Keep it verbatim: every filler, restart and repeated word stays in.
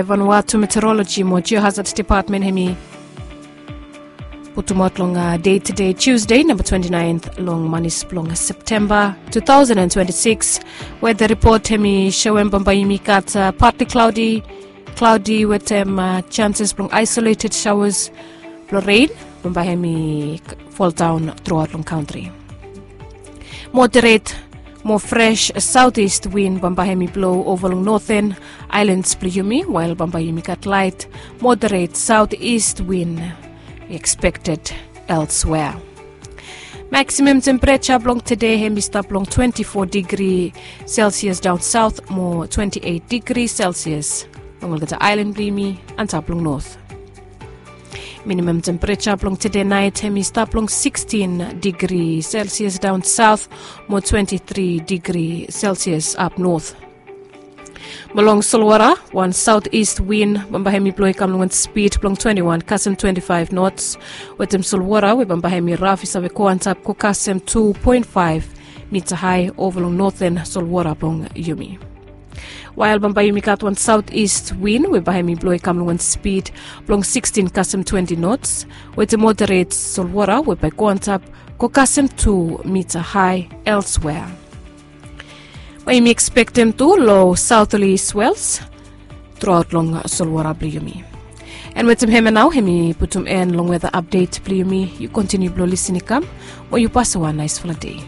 Vanuatu Meteorology mo Geohazard Department hemi putumaot long dei tede Tuesday namba twenty-ninth long manis blong Septemba two thousand and twenty-six. Weather report hemi soem bambae yumi gat partly cloudy, cloudy wetem chances blong isolated showers blong rain bambae hemi fall down throughout long country. Moderate mo fresh southeast wind bambae hemi blow ova long northern islands blong yumi, while bambae yumi gat light moderate southeast wind expected elsewhere. Maximum temperature blong tede hemi stap long twenty-four degree Celsius down south mo twenty-eight degree Celsius long olgeta island blong yumi antap long north. Minimum temperature blong tede nait hemi stap long sixteen degree Celsius down south mo twenty-three degree Celsius up north. Mo long solwara, wan southeast wind bambae hemi bloe i kam long wan speed blong twenty-one kasem twenty-five knots. Wetem solwara we bambae hemi raf i save go antap go kasem two point five mita hae ova long northern solwara blong yumi. While bambae yumi gat wan southeast wind we bae hemi bloe i kam long wan speed blong sixteen kasem twenty knots, wetem moderate solwara we bae go antap go kasem two mita hae elsewhere. Bae yumi expectem tu low southerly swells throughout long solwara blong yumi. And wetem hemia nao hemi putum en long weather update blong yumi. Yu continue blong lisin i kam, mo yu pasem wan naesfala dei.